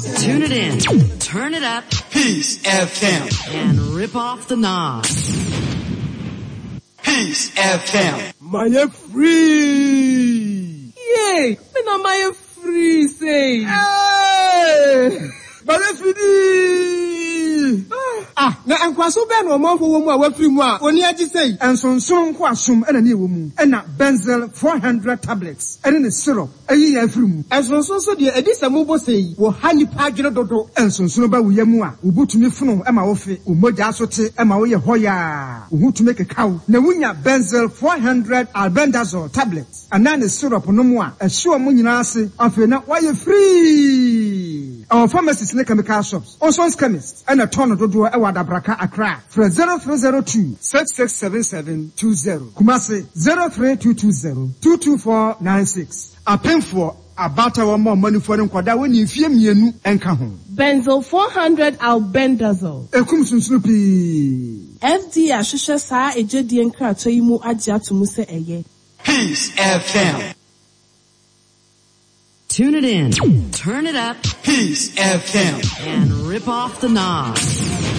Tune it in, turn it up, Peace FM. and rip off the knob. Peace FM. Mayɛ free. Yay! Me na mayɛ free sei. Hey! Mayɛ fidii. Ah, na nkoasom bɛn na ɔmanfo wɔ mu a wɔafiri mu a wɔn ani agye sei? Nsonsono nkoasom na ne ɛwɔ mu, ɛna Benzyl 400 tablets ne ne syrup ayi yɛn afiri mu. Nsonsono nso deɛ, ɛdi sɛ mobɔ sei yi, wɔha nnipa adwene dodo. Nsonsono ba wo yam a, wo bo tumi fono ma wofe, wo mogya so te ma woyɛ hɔyaa, wo ho tumi keka wo, na wunya Benzyl 400 Albendazole tablets anaa ne syrup nom a, ɛhye wɔn nyinaa ase, afei na woayɛ firii. Ɛwɔ pharmacies ne chemical shops. Ozon's Chemist na ɛtɔn no dodoɔ wɔ Adabraka, Accra. Frɛ 0302 667720, Kumasi 03220 22496. Apemfoɔ, abaatawa mma ɔmanifoɔ ne nkwadaa a wɔnni mfeɛ mmienu nka ho. Benzyl 400 Albendazole. Ɛkum sunsunu pii. FDA ahwehwɛ saa egyedie nkratoɔ yi mu agye ato mu sɛ ɛyɛ. Peace FM. Tune it in, turn it up, Peace FM. and rip off the knob.